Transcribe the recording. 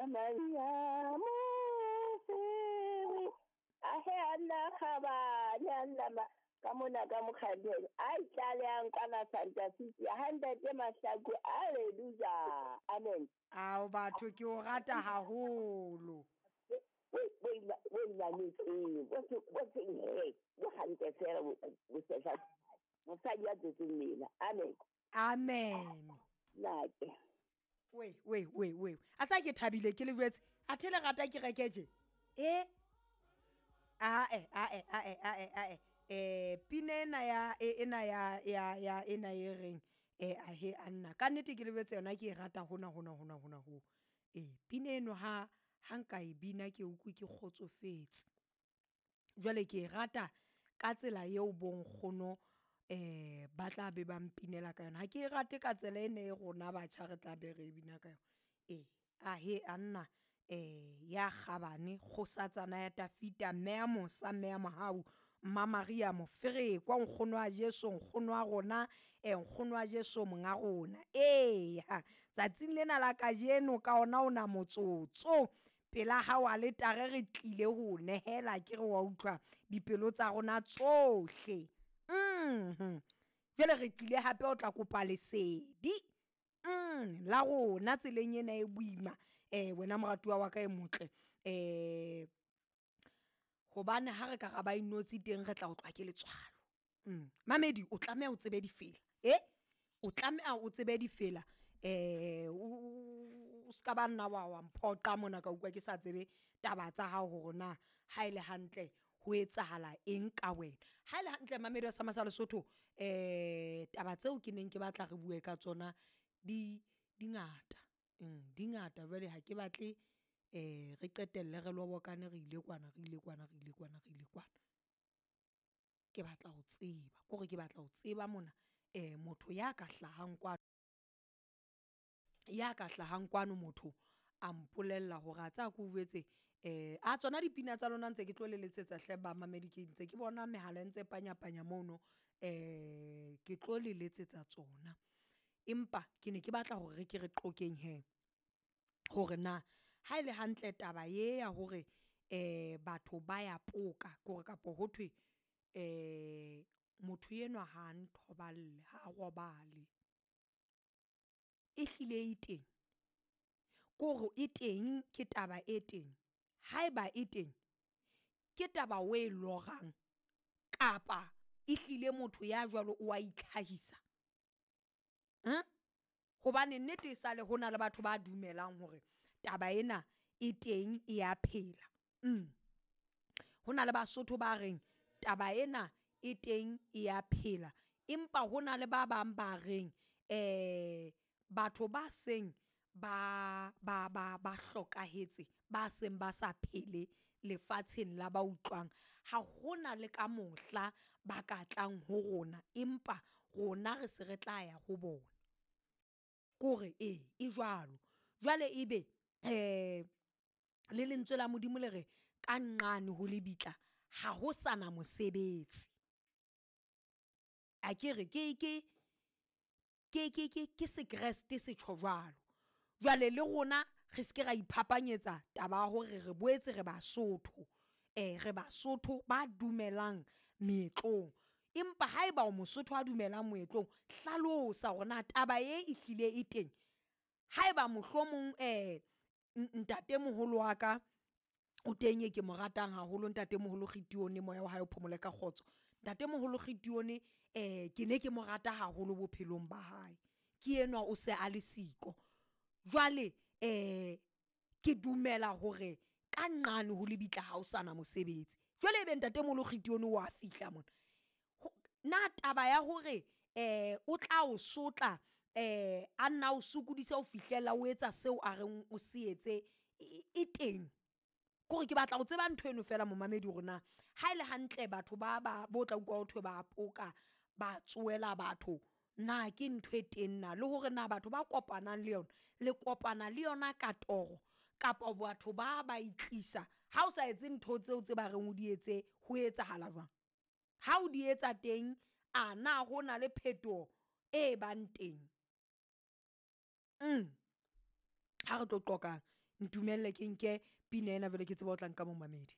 Maria Mosiri ahe anna kgabane anna ma ka mona ka mokgatleng a itlalehang kwana Santa City ha ntate Mahlaku haleluja amen. Ao batho ke o rata haholo. Bo inametseng bo seng he bo hantle fela bo sehla mosadi ya tswetseng mela amen. Amen. Nake we we we we a tsa ke thabile ke le jwetse a the le rata ke reke je e ae ae ae ae ae pina ena ya ena ya ya ya ena e reng ahe anna ka nnete ke le jwetse yona ke e rata hona hona hona hona ho pina eno ha ha nka e bina ke utlwe ke kgotsofetse. Jwale ke e rata ka tsela eo bonkgono ba tla be ba mpinela ka yona. Ha ke e rate ka tsela ena e rona batjha re tla be re bina ka yona. E ahe anna ya kgabane kgosatsana ya Tafita mme ya mosa mme ya mohau Mma Maria Moferekwa nkgono wa Jesu nkgono wa rona nkgono wa Jesu monga rona. Eya tsatsing lena la kajeno ka ona ona motsotso pela hao aletare re tlile ho nehela ke re wa utlwa dipelo tsa rona tsohle. Jwale re tlile hape o tla kopa lesedi la rona tseleng ena e boima wena moratuwa wa ka e motle hobane ha re ka ra ba inotshi teng re tla otlwa ke letswalo. Mamedi o tlameha o tsebe difela o tlameha o tsebe difela o ska ba nna wa mphoqa mona ka utlwa ke sa tsebe taba tsa hao hore na ha ele hantle ho etsahala eng ka wena. Ha ele hantle mamedi wa sama sa Lesotho taba tseo ke neng ke batla re bue ka tsona di ngata di ngata jwale ha ke batle re qetelle re lobokane re ile kwana re ile kwana re ile kwana re ile kwana. Ke batla ho tseba kore ke batla ho tseba mona motho ya ka hlahang kwano, ya ka hlahang kwano motho a mpolella hore a tseba keo jwetse a tsona dipina tsa lona ntse ke tlo le letsetsa hle bamamedi ke ntse ke bona mehala e ntse panya-panya mono ke tlo le letsetsa tsona. Empa ke ne ke batla hore re ke re qoqeng hee hore na ha ele hantle taba ye ya hore batho ba ya poka kore kapo ho thwe motho enwa ha nthoballe ha robale, ehlile e teng? Kore e teng ke taba e teng, haeba e teng ke taba o e lorang kapa ehlile motho ya jwalo o wa itlhahisa? Hobane nnete e sale hona le batho ba dumelang hore taba ena e teng e ya phela. Ho na le Basotho ba reng taba ena e teng e ya phela, empa hona le ba bang ba reng batho ba seng ba hlokahetse, ba seng ba sa phele lefatsheng la ba utlwang. Ha hona le ka mohla ba ka tlang ho rona, empa rona re se re tla ya ho bona. Kore ee e jwalo, jwale ebe le lentswe la Modimo le re ka nqane ho lebitla ha ho sana mosebetsi. Akere ke sekreste se tjho jwalo. Jwale le rona re seke ra iphapanyetsa taba ya hore re boetse re Basotho, re Basotho ba dumelang meetlong. Empa haeba o Mosotho a dumelang moetlong, hlalosa hore na taba e ehlile e teng. Haeba mohlomong ntatemoholo wa ka o teng e ke mo ratang haholo ntatemoholo Kitione moya wa hae o phomole ka kgotso. Ntatemoholo Kitione ke ne ke mo rata haholo bophelong ba hae, ke enwa o se a le siko. Jwale ke dumela hore ka nqane ho lebitla ha o sana mosebetsi. Jwale ebe ntatemoholo Kitione wa fihla mona, na taba ya hore o tla o sotla a nna o sokodise ho fihlela o etsa seo a reng o se etse e teng? Kore ke batla ho tseba ntho eno fela momamedi hore na ha ele hantle batho ba ba bo tla utlwa ho thwe ba poka, ba tsohela batho. Na ke ntho e teng na, le hore na batho ba kopanang le yona, le kopana le yona ka toro kapa batho ba ba e tlisa? Ha o sa etse ntho tseo tse ba reng o di etse ho etsahala jwang? Ha o di etsa teng, a na ho na le phetoho e bang teng? Ha re tlo qoqang. Ntumelle ke nke pina ena jwale ke tseba o tla nka momamedi.